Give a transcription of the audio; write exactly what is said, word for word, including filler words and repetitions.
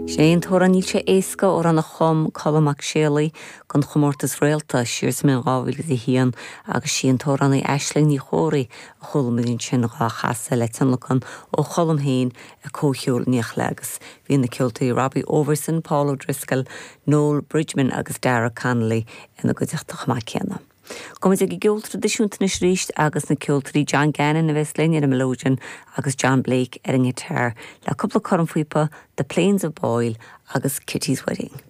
Sé an t-amhrán Níl sé éasca amhrán a chum Colm Mac Séalaigh don chomórtas Réalta siar sa mbliain dhá mhíle a haon agus sí an t-amhránaí Aisling Ní Chomhraí a chuala muid ansin á chasadh le tionlacan ó Cholm féin ag comhcheol Nioclás agus bhí na ceoltóirí Robbie Overson, Paul O'Driscoll, Noel Bridgman agus Dara Connolly ina gcuideachta chomh maith céanna. Gabhfaimid ag an gceol traidisiúnta anois arís agus na ceoltóirí John Gannon a bheas linn ar an melodeon agus John Blake ar an ngiotár le cúpla cornphíopa The Plains of Boyle agus Kitty's Wedding.